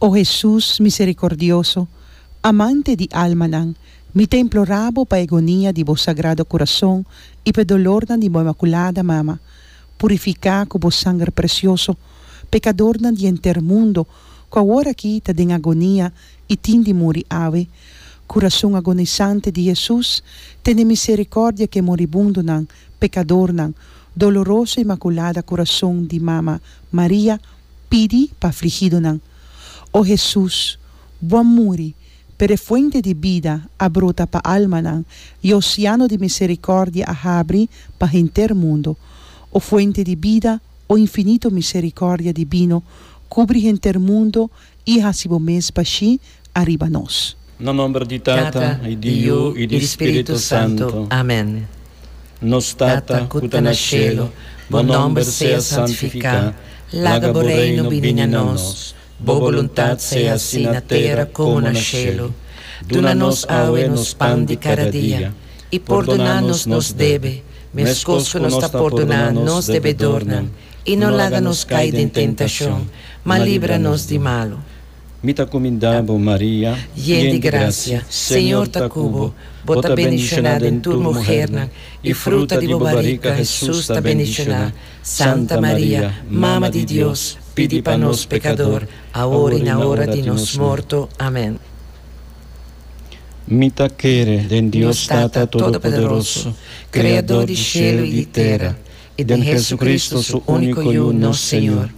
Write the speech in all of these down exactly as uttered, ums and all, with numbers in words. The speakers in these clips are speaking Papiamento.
O Hesus misericordioso, amante di almanan, mi ta implora Bo pa e agonia di bo Sagrado Curazon y p'e dolornan di bo Inmaculada Mama, purifica cu bo Sanger precioso, pecadornan di henter mundo, cu awor aki ta den agonia y tin di muri awe. Curazon agonizante di Hesus, tene misericordia cu e moribundonan, pecadornan. Doloroso Inmaculada Curazon di Mama Maria, pidi pa afligidonan. O Hesus, Bo a muri, pero e fuente di bida a brota pa almanan y oceano di misericordia a habri pa henter mundo. O fuente di bida, o infinito misericordia divino, cubri henter mundo y haci bo mes bashi ariba nos. Na nomber di Tata, y di Yiu, y di Spirito Santo. Amen. Nos Tata, cu ta na cielo, bo nomber sea santifica, laga bo reino bini na nos, bo boluntad sea asina na tera como na cielo. Duna nos awe nos pan di cada dia, y pordona nos nos debe, mescos cu nos ta pordona nos debedornan, y no laga nos cay den tentacion, ma libra nos di malo. Mi ta cuminda bo, Maria, yen di gracia, Señor ta cu bo, bo ta bendiciona den tur muhernan, y fruta di bo barica, Jesus, ta bendiciona. Santa Maria, Mama di Dios, pidi pa nos pecador, awor y na ora di nos morto. Amen. Mi ta kere den Dios Tata Todopoderoso, Creador di cielo y di tera, y den Jesucristo, su unico Yiu, nos Señor,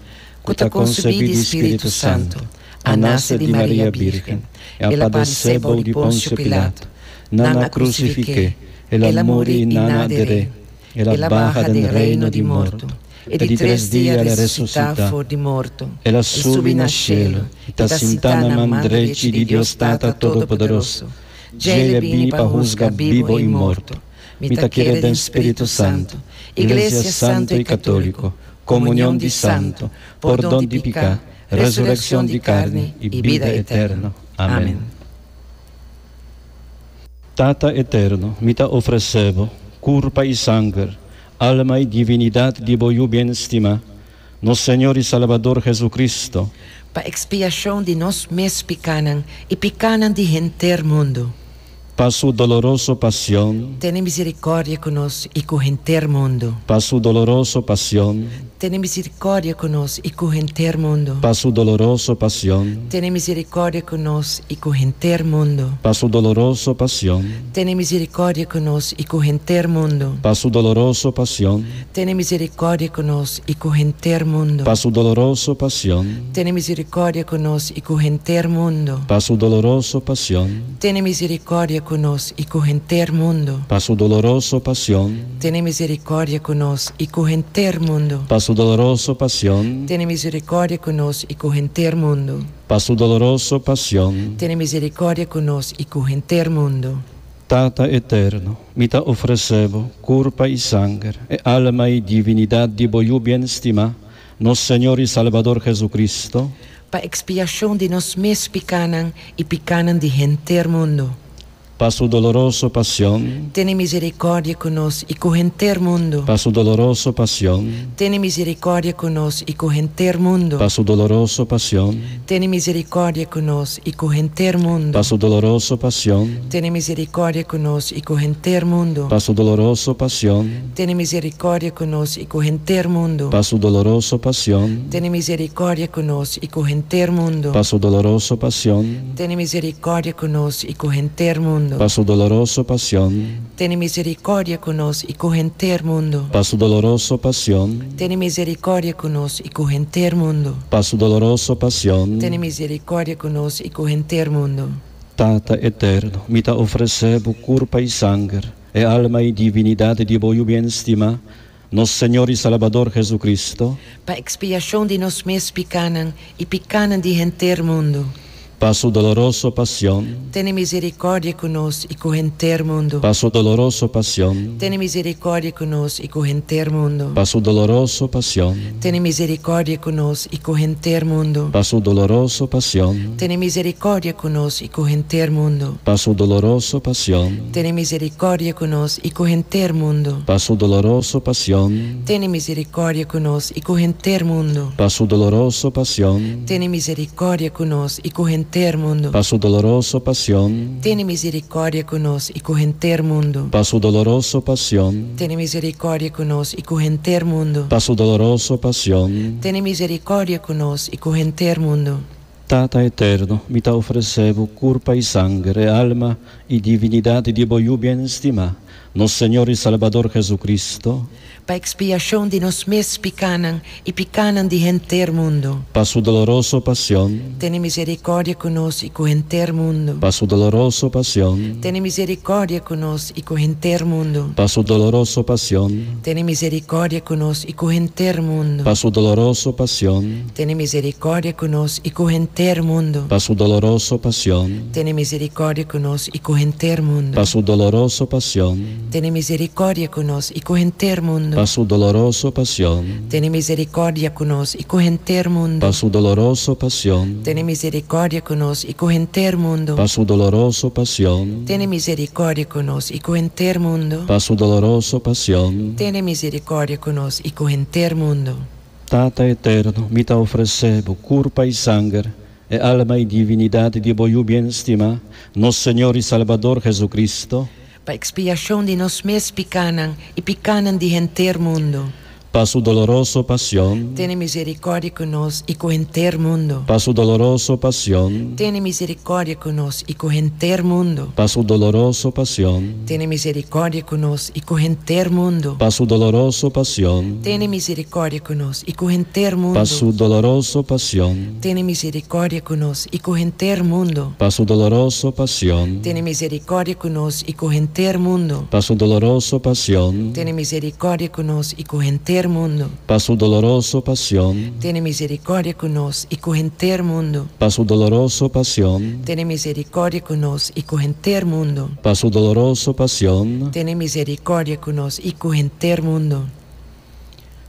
cu ta concebi di Spirito Santo, a nace di Maria Virgen, el a padece bou di Poncio Pilato, nan a crucifique, el a muri y nan a der'e, el a baha den reino di morto, E di tres dia el a resucita for di morto, el a subi na cielo, y ta sinta na man drechi di Dios Tata Todopoderoso. Dje el a bini pa husga bibo y morto. Mi ta kere den Spirito Santo, Iglesia Santo y Catolico, comunion di santo, pordon di pica, resurreccion di carni y bida eterno. Amen. Tata eterno, mi ta ofrece Bo curpa y sanger, alma y divinidad di bo Yiu bien stima, nos Señor y Salbador Jesucristo, pa expiacion di nos mes picanan y picanan di henter mundo. Pa su doloroso pasion. Tene misericordia cu nos y cu henter mundo. Pa su doloroso pasion. Tene misericordia cu nos y cu henter mundo. Pa su doloroso pasion. Tene misericordia cu nos y cu henter mundo. Pa su doloroso pasion. Tene misericordia cu nos y cu henter mundo. Pa su doloroso pasion. Tene misericordia cu nos y cu henter mundo. Pa su doloroso pasion. Tene misericordia cu nos y cu henter mundo. Pa su doloroso pasion. Tene misericordia cu nos y cu henter mundo. Pa su doloroso pasion. Tene misericordia cu nos y cu henter mundo. Pa su doloroso pasion. Tene misericordia cu nos y cu henter mundo. Pa su doloroso pasion. Tene misericordia cu nos y cu henter mundo. Tata eterno, mi ta ofrece Bo curpa y sanger, e alma y divinidad di bo Yiu bien stima, nos Señor y Salbador Jesucristo, pa expiacion di nos mes picanan y picanan di henter mundo. Pa su doloroso pasion. Tene misericordia cu nos y cu henter mundo. Pa su doloroso pasion. Tene misericordia cu nos y cu henter mundo. Pa su doloroso pasion. Tene misericordia cu nos y cu henter mundo. Pa su doloroso pasion. Tene misericordia cu nos y cu henter mundo. Pa su doloroso pasion. Tene misericordia cu nos y cu henter mundo. Pa su doloroso pasion. Tene misericordia cu nos y cu henter mundo. Pa su doloroso pasion. Tene misericordia cu nos y cu henter mundo. Pa su doloroso pasion. Tene misericordia cu nos y cu henter mundo. Pa su doloroso pasion. Tene misericordia cu nos y cu henter mundo. Pa su doloroso pasion. Tene misericordia cu nos y cu henter mundo. Tata eterno, mi ta ofrece Bo curpa y sanger, e alma y divinidad di bo Yiu bien stima, nos Señor y Salbador Jesucristo, pa expiacion di nos mes picanan y picanan di henter mundo. Pa su doloroso pasión, Tene misericordia cu nos y cu henter mundo. Pa su doloroso pasión, Tene misericordia cu nos y cu henter mundo. Pa su doloroso pasión, Tene misericordia cu nos y cu henter mundo. Pa su doloroso pasión, Tene misericordia cu nos y cu henter mundo. Pa su doloroso pasión, Tene misericordia cu nos y cu henter mundo. Pa su doloroso pasión, Tene misericordia cu nos y cu henter mundo. Pa su doloroso pasión, Tene misericordia cu nos y cu henter mundo. Pa su doloroso pasión, Tene misericordia cu nos y cu henter mundo. Pa su doloroso pasión, Tene misericordia cu nos y cu henter mundo. Pa su doloroso pasión, Tene misericordia cu nos y cu henter mundo. Tata eterno, mi ta ofrece Bo curpa y sanger, alma y divinidad di Bo Yiu bien stima, nos Señor y Salvador Jesucristo, Pa expiacion di nos mes picanan y picanan di henter mundo. Pa su doloroso pasión, Tene misericordia cu nos y cu henter mundo. Pa su doloroso pasión, Tene misericordia cu nos y cu henter mundo. Pa su doloroso pasión, Tene misericordia cu nos y cu henter mundo. Pa su doloroso pasión, Tene misericordia cu nos y cu henter mundo. Pa su doloroso pasión, Tene misericordia cu nos y cu henter mundo. Pa su doloroso pasión, Tene misericordia cu nos y cu henter mundo. Pa su doloroso pasión, Tene misericordia cu nos y cu henter mundo. Pa su doloroso pasión, Tene misericordia cu nos y cu henter mundo. Pa su doloroso pasión, Tene misericordia cu nos y cu henter mundo. Pa su doloroso pasión, Tene misericordia cu nos y cu henter mundo. Tata eterno, mi ta ofrece Bo curpa y sanger, e alma y divinidad di Bo Yiu bien stima, nos Señor y Salvador Jesucristo, Pa expiacion di nos mes picanan y picanan di henter mundo. Pa su doloroso pasión, Tene misericordia cu nos y cu henter mundo. Pa su doloroso pasión, Tene misericordia cu nos y cu henter mundo. Pa su doloroso pasión, Tene misericordia cu nos y cu henter mundo. Pa su doloroso pasión, Tene misericordia cu nos y cu henter mundo. Pa su doloroso pasión, Tene misericordia cu nos y cu henter mundo. Pa su doloroso pasión, Tene misericordia cu nos y cu henter mundo. Pa su doloroso pasión, Tene misericordia cu nos y cu henter mundo. Pa su doloroso pasión, Tene misericordia cu nos y cu henter mundo. Pa su doloroso pasión, Tene misericordia cu nos y cu henter mundo. Pa su doloroso pasión, Tene misericordia cu nos y cu henter mundo.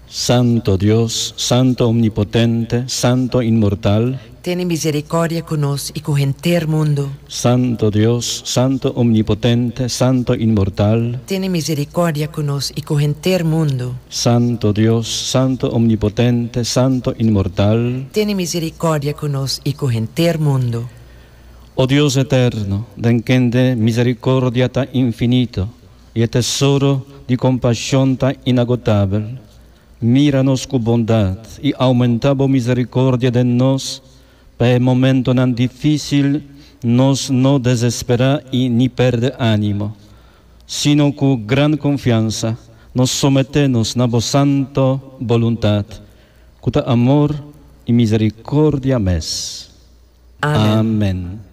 Santo Dios, Santo Omnipotente, Santo Inmortal, Tene misericordia cu nos y cu henter mundo. Santo Dios, Santo Omnipotente, Santo Inmortal, Tene misericordia cu nos y cu henter mundo. Santo Dios, Santo Omnipotente, Santo Inmortal, Tene misericordia cu nos y cu henter mundo. O Dios eterno, den kende misericordia ta infinito y e tesoro di compasion ta inagotabel, mira nos cu bondad y aumenta bo misericordia den nos, pa e momentonan dificil nos no desespera y ni perde animo, sino cu gran confiansa nos somete nos na bo santo voluntad, cu ta amor y misericordia mes. Amen. Amen.